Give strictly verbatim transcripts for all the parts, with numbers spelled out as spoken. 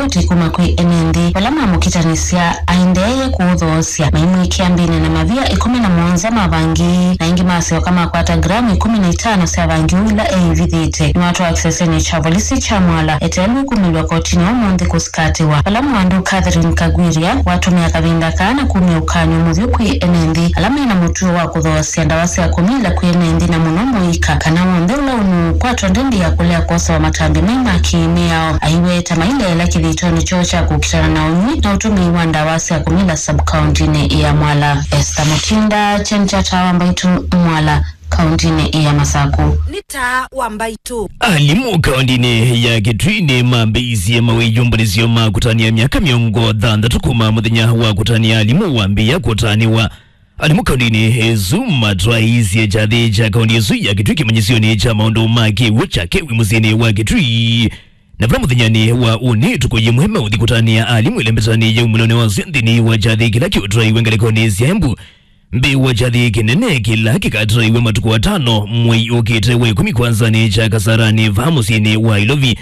Ripoti kuma kwĩ ene nthĩ vala mamũkĩtanĩsya aendeeye kũũthoosya, maimwĩkĩa mbĩnĩ na mavia ĩkũmi na mũonza ma vangi, na ĩngĩ masyoka makwata gramu ĩkũmi na itano sya vangi ũla eĩvithĩte. Nĩwatwaa kĩsesenĩ kya volisi kya Mwala eteelwe kumĩlw'a kotinĩ ũmũnthĩ kũsikatĩwa, vala mũandũ Catherine Kagwiria watũmĩa kavinda kaa na kumya ũkany'o mũvyũ kwĩ ene nthĩ ala mena mũtuo wa kũthoosya ndawa sya kũmila kwĩ ene nthĩ, na mũno mũika kana w'onthe ũla ũnũũkwatwa ndendi ya kũlea kwosewa matambya mai ma kĩ-mĩao. Aiweta maileela kĩthĩtonĩ kyoo kya kũkitana na ũnywi na ũtũmĩi wa ndawa sya kũmila sub-kauntinĩ ya Mwala. Esther Mutinda, Chenchata wa Mbaitu, Mwala, kauntinĩ ya Masaku. Nĩ taa wa Mbaitu. Alimũ kauntinĩ ya Kitui nĩmambĩĩisye mawĩyũmbanĩsyo ma kũtanĩa myaka mĩongo thanthatũ kuma mũthenya wa kũtanĩa alimũ wambĩĩa kũtanĩwa. Alimũ kauntinĩ ĩsu matwaĩisye kyathĩ kya kaunti ĩsu ya Kitui kĩmanyĩsyonĩ kya maũndũ ma kĩw'ũ kya Kewi mũsyĩnĩ wa Kitui. Na vala mũthenyanĩ wa ũnĩ, tukũ yĩmwe meũthi kũtanĩa alimũ ĩlembetanĩ ya umĩlonĩ wa syo nthĩnĩ wa kyathĩ kĩla kĩũtwaiwe ngalĩkonĩ sya Embu. Mbee wa kyathĩ kĩnene kĩla kĩkatwaiwe matukũ atano mwei ũkĩte wa ĩkũmi kwanzanĩ kya Kasarani vaa mũsyĩnĩ wa Ilovi.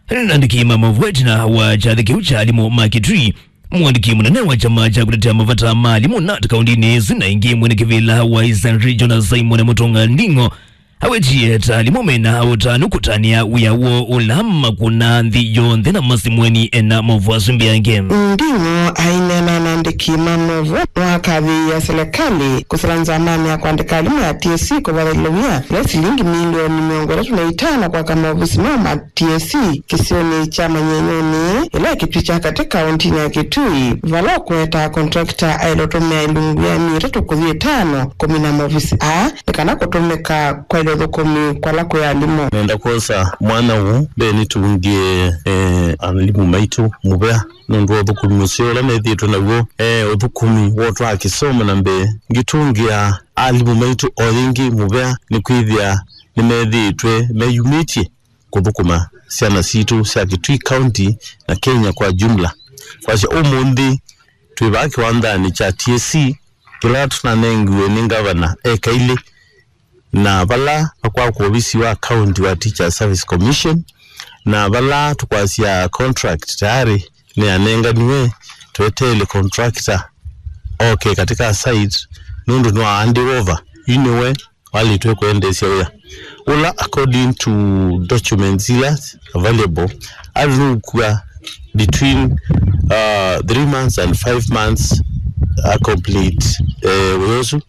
Andĩki ma maũvoo ĩtina wa kyathĩ kĩu kya alimũ ma Kitui, mũandĩki mũnene wa kyama kya kũtetea mavata ma alimũ nat kauntinĩ ĩsu na ĩngĩ mwene kĩvĩla wa Eastern Region Simon Mũtũnga Nding'o awetie ta alimũ mena ũtanu kũtanĩa wĩa woo ũla makũnaa nthĩ yonthe na masemweni ena maũvoo asu mbee yake. Nding'o aineena na andĩki ma maũvoo nĩwakathĩĩie silikalĩ kũsila nzamanĩ ya kũandĩka alimũ ya T S C kũvatha ĩlovi ya silingi milioni mĩongo ĩtatũ na itano kwaka maovisi moo ma T S C kĩsionĩ kya Manyenyonĩ, ĩla ĩ Kitui kya katĩ kauntinĩ ya Kitui, vala ũkũetaa contractor aĩle ũtũmĩa ĩlungu ya myei ĩtatũ kũthi ĩtano kũmina maovisi aa, nĩ kana kũtũmĩka kwaĩlya ũthũkũmi kwala kwĩ alimũ. Nenda kwosa mwanya ũũ mbee nĩtũngĩe, eh, alimũ maitũ mũvea nũndũ wa ũthũkũmi mũseo ũla methĩĩtwe naw'o, eh, ũthũkũmi wa ũtwaa kĩsomo na mbee. Ngĩtũngĩa alimũ maitũ o yĩngĩ mũvea nĩkwĩthĩa nĩmethĩĩtwe meyumĩtye kũthũkũma syana sitũ sya Kitui County na Kenya kwa jumla. Kwasya ũmũnthĩ twĩ vaa kĩwanzanĩ kya T S C kĩla tũnanengiwe nĩ ngavana eka ilĩ, na vala vakwakwa ovisi wa county wa Teachers Service Commission, na vala tũkwasya contract tayarĩ nĩyanenganiwe, tweteele contractor oke katika site nũndũ nĩwa hand over. Yu nĩwe walĩtwe kwendeesya wĩa ũla, according to documents ila available, athi nũkua between, uh, three months and five months a complete, eh, wĩa ũsu,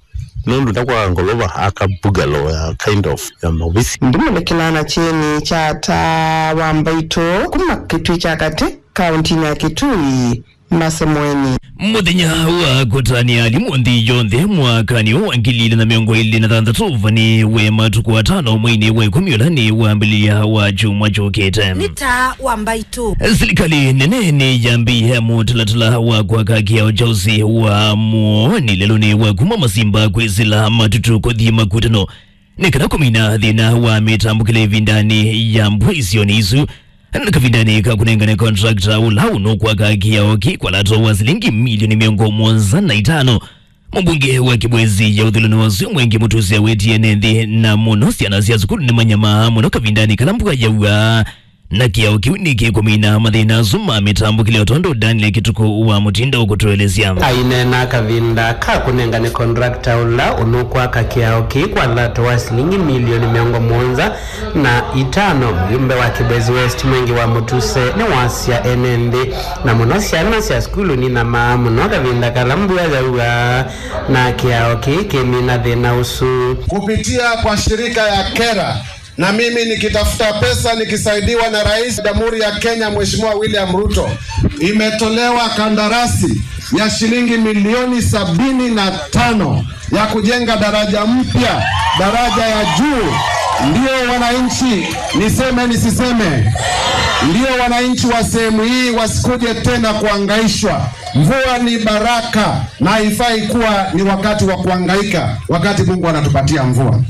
nũndũ ndakwaga ngolova aka bungalow ya kind of ya maovisi. Ndimũlĩkĩlaa na kyeni kya taa wa Mbaitũ kuma Kitui kya katĩ, kauntinĩ ya Kitui. Masemweni. Mũthenya wa kũtanĩa alimũ nthĩ yonthe mwakanĩ ũũ wa ngili ilĩ na mĩongo ĩlĩ na thanthatũ ũvanĩwe matukũ atano mweinĩ wa ĩkũmi ũla nĩ wambĩlĩlya wa kyumwa kyũkĩte. Nĩ taa wa Mbaitũ. Silikalĩ nene nĩyambĩĩe mũtalatala wa kwaka kĩao kya ũsĩ wa mũonĩ lelũnĩ wa kuma Masimba kwĩsĩla Matutu kũthi Makutano nĩ kana kũmina thĩna wa mĩtambũkĩle ĩvindanĩ ya mbua isionĩ isu. Na kavindanĩ ka kũnengane contractor ũla ũnũkwaka kĩao kĩ kwa lato wa silingi milioni mĩongo mũonza na itano, mũmbunge wa Kibwezi ya ũthulani wa Sumwengi Mũtusi awetie ene nthĩ na mũno syana sya sukulu nĩmanyamaa mũno kavindanĩ kala mbua yaua. Na kĩao kĩu nĩkĩkũmina mathĩna asu ma mĩtambũkĩle, o tondũ Daniel Kĩtukũ wa Mũtinda ũkũtũelesya. Aineena kavinda ka kũnengane contractor ũla ũnũkwaka kĩao kĩĩ kwa lato wa silingi milioni mĩongo mũonza na itano, mũyumbe wa Kibwezi West Mwengi wa Mũtuse nĩwasya ene nthĩ na mũno syana sya sukulu ninyamaa mũno kavinda kala mbua yaua, na kĩao kĩĩ kĩmina thĩna ũsu. Kupitia kwa shirika ya kera, na mimi nikitafuta pesa nikisaidiwa na Rais wa Jamhuri ya Kenya, Mheshimiwa William Ruto, imetolewa kandarasi ya shilingi milioni sabini na tano ya kujenga daraja mpya, daraja ya juu. Ndio wananchi, niseme nisiseme, ndio wananchi wa sehemu hii wasikuje tena kuhangaishwa. Mvua ni baraka na haifai kuwa ni wakati wa kuhangaika wakati Mungu anatupatia mvua.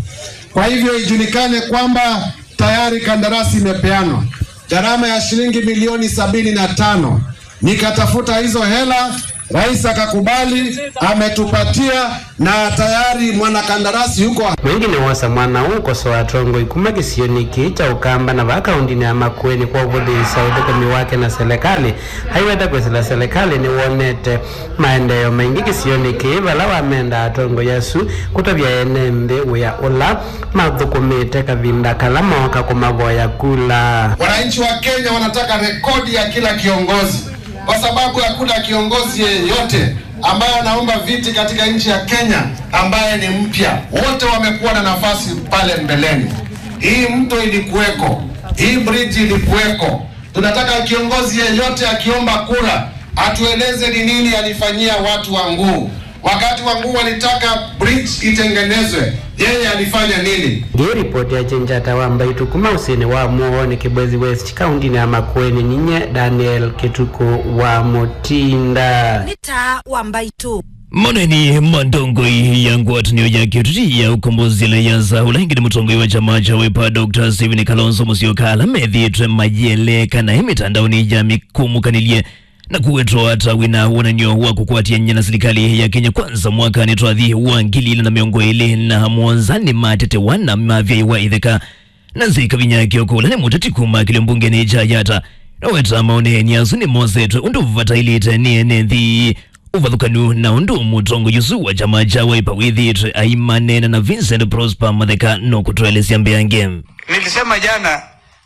Kwa hivyo ijulikane kwamba tayari kandarasi imepeanwa, gharama ya shilingi milioni sabini na tano. Nikatafuta hizo hela, Rais akakubali, ametupatia na tayari mwanakandarasi yuko. Mwingĩ nĩwosa mwanya ũũ kũkosoa atongoi kuma kĩsionĩ kĩĩ kya Ũkamba na vaa kaũndĩnĩ ya Makueni kwa ũvũthĩĩsya ũthũkũmi wake na selekalĩ. Aiweta kwĩsĩla selekalĩ nĩwonete maendeeo maingĩ kĩsionĩ kĩĩ vala wamenda atongoi asu kũtavya ene nthĩ wĩa ũla mathũkũmĩte kavinda kala mooka kũmavoya kula. Wananchi wa Kenya wanataka rekodi ya kila kiongozi, kwa sababu hakuna kiongozi yeyote ambaye anaomba viti katika nchi ya Kenya ambaye ni mpya. Wote wamekuwa na nafasi pale mbeleni. Hii mto ilikuweko, hii bridge ilikuweko. Tunataka kiongozi yeyote akiomba kura atueleze ni nini alifanyia watu wa Nguu. Wakati wa Nguu walitaka bridge itengenezwe, yeye alifanya nini? Ngĩĩ ripoti ya Chenjata wa Mbaitũ kuma ũsĩnĩ wa Mũooni Kibwezi West, kaũndĩnĩ ya Makueni, ninye Daniel Kĩtukũ wa Mũtinda. Nĩ taa wa Mbaitũ. Maũneeni ma ndongoi ya ngwatanĩo ya kĩũteti ya ũkombozi Alliance, ũla ĩngĩ nĩ mũtongoi wa kyama kya Wiper, Doctor Stephen Kalonzo Musyoka, ala methĩĩtwe mayĩeleka naĩ mĩtandaonĩ ya mĩkũmũkanĩlye na kũwetwa ta wĩna wonany'o wa kũkwatany'a na silikalĩ ya Kenya Kwanza mwakanĩ twathi wa ngili ilĩ na mĩongo ĩlĩ na mũonza nĩmatetewa na mavyaĩwa itheka. Nancy Kavinya Kioko, ũla nĩ mũteti kuma kĩlio mbungenĩ kya Yatta, nĩweta maũneeni asu nĩmosetwe ũndũ vataĩlĩte nĩ ene nthĩ. Ũvathũkanu na ũndũ mũtongoi ũsu wa kyama kya Wiper wĩthĩĩtwe aimaneena na Vincent Prosper Matheka no kũtũelesya mbeange. Nilisema jana,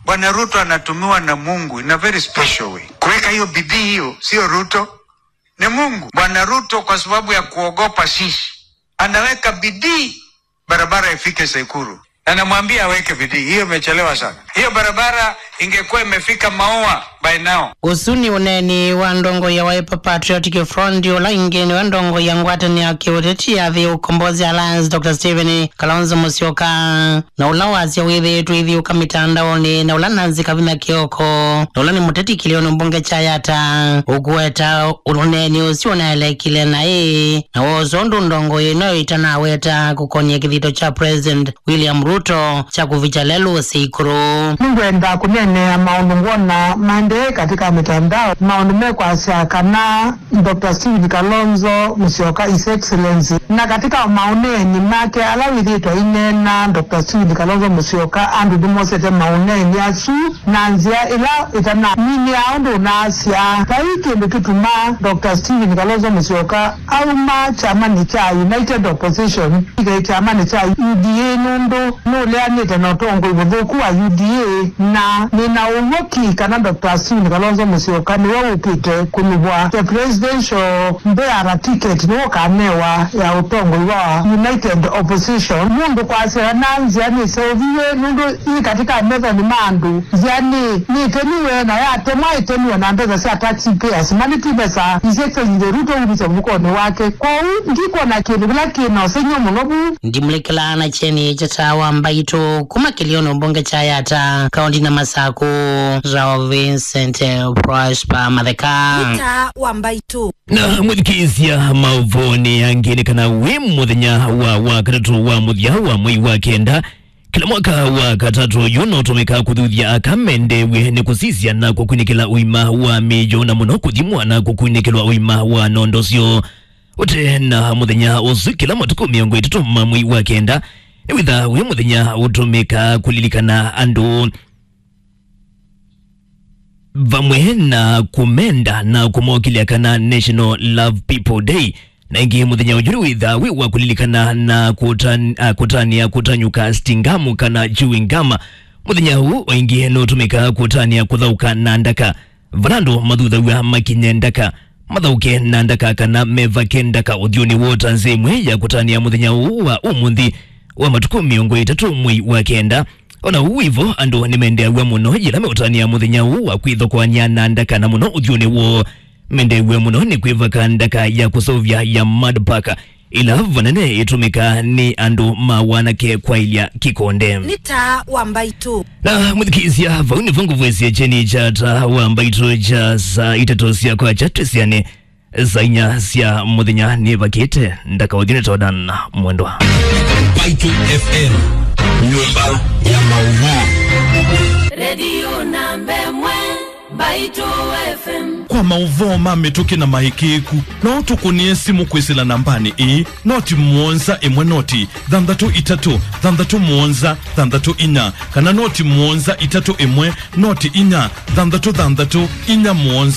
Bwana Ruto anatumiwa na Mungu in a very special way. Kuweka hiyo bidii hiyo, sio Ruto, ni Mungu. Bwana Ruto, kwa sababu ya kuogopa sisi, anaweka bidii barabara ifike Sekuru. Na namwambia aweke bidii, hiyo imechelewa sana. Hiyo barabara ingekuwa imefika Maua by now. Ũsu nĩ ũneeni wa ndongoi ya Wiper Patriotic Front, ũla ĩngĩ nĩwe ndongoi ya ngwatanĩo ya kĩũteti ya Thĩ Ũkombozi Alliance, Doctor Stephen Kalonzo Musyoka, na ũla wasya wĩthĩĩtwe ithyũka mĩtandaonĩ, na ũla Nancy Kavinya Kioko, na ũla nĩ mũteti kĩlĩonĩ mbunge kya Yatta, ũkũweta ũneeni ũsu ũnaelekile naĩ, na woosa ũndũ ndongoi ĩno ĩtanaweta kũkony'a kĩthito kya President William Ruto kya kũvikya lelũ ũsĩ ĩkũlũ. Nĩngwenda kũneenea maũndũ ngwona maendee katika mitandao, maũndũ mekwasya kana Doctor Stephen Kalonzo Musyoka, His Excellency. Na katika maũneeni make ala wĩthĩĩtwe aineena Doctor Stephen Kalonzo Musyoka, andũ nĩmosete maũneeni asu na nzĩa ĩla ĩtanaminĩa ũndũ ũnaasya. Vai kĩndũ kĩtuma Doctor Stephen Kalonzo Musyoka auma kyamanĩ kya United Opposition, ĩke kyamanĩ kya U D A, nũndũ nũleanĩte na ũtongoi mũthũku wa U D A, na nĩna ũw'o ki kana Doctor Stephen Kalonzo Musyoka nĩwe ũkĩte kũnyuvwa the presidential bearer ticket nĩwe ũkanewa ya ũtongoi wa United Opposition. Mũndũ kwasya na nzĩa nĩseũviw'e nũndũ yĩ katika methonĩ ma andũ. Nzĩa nĩ, nĩtemiwe na yatemwa ĩtemiwe na mbesa sya taxpayers, na nĩ ti mbesa isekelile Ruto umisya mũkonĩ wake. Kwoou ndikwona kĩndũ kĩla kĩ na ũsengy'o mũno vu. Ndimũlĩkĩlaa na kyeni kya taa wa Mbaitũ kuma kĩlĩonĩ mbunge kya Yatta, kaũndĩnĩ ya Masakũ, Rao Vincent Prosper Matheka. Nĩ taa wa Mbaitũ. Na mwĩthukĩĩsya maũvoonĩ angĩ nĩ kana wĩ mũthenya wa, wa katatũ wa mũthya wa mwei wa kenda, kĩla mwaka wa katatũ ũyũ nũtũmĩkaa kũthuthya aka mendeew'e nĩ kũsisya na kũkunĩkĩla ũima wa mĩĩ na mũno kũthimwa na kũkunĩkĩlwa ũima wa nondo syoo. Ũte na mũthenya ũsu, kĩla matukũ mĩongo ĩtatũ ma mwei wa kenda nĩwĩthaa wĩ mũthenya ũtũmĩkaa kũlilikana andũ vamwe na kũmenda na kũmokĩlya kana National Love People Day. Na ĩngĩ mũthenya ũyũ nĩwĩthaa wĩ wa kũlilikana na kũtan-, a, kũtanĩa kũtanyũka stingamu kana chewing gum. Mũthenya ũũ o ĩngĩ nũtũmĩkaa kũtanĩa kũthaũka na ndaka. Vala andũ mathuthaw'a makinye ndaka, mathaũke na ndaka kana mevake ndaka ũthyũnĩ woo ta nzĩa ĩmwe ya kũtanĩa mũthenya ũũ wa ũmũnthĩ wa matukũ mĩongo ĩtatũ mwei wa kenda. O na ũu wĩ vo, andũ nĩmendeew'a mũno yĩla meũtanĩa mũthenya ũũ wa kwĩthokoany'a na ndaka, na mũno ũthyũnĩ woo. Mendeew'a mũno nĩ kwĩvaka ndaka ya kũseũvya ya Mud Pack, ĩla vanene ĩtũmĩkaa nĩ andũ ma wanake kwaĩlya kĩkonde. Nĩ taa wa Mbaitũ. Na mwĩthukĩĩsya, vau nĩvo ngũvoesya kyeni kya taa wa Mbaitũ kya saa itatũ sya kwakya twĩsĩane. Saa inya sya mũthenya nĩvakĩte, ndakaũthyũnĩ Jordan Mwendwa. Mbaitũ F M, nyũmba ya maũvoo. Redio namba ĩmwe, Mbaitũ F M. maũvoo ma mĩtũkĩ na maĩkĩĩku, no ũtũkũnĩe simũ kwĩsĩla nambanĩ ĩĩ, noti mũonza ĩmwe noti thanthatũ itatũ thanthatũ mũonza thanthatũ inya, kana noti mũonza itatũ ĩmwe noti inya thanthatũ thanthatũ inya mũonza.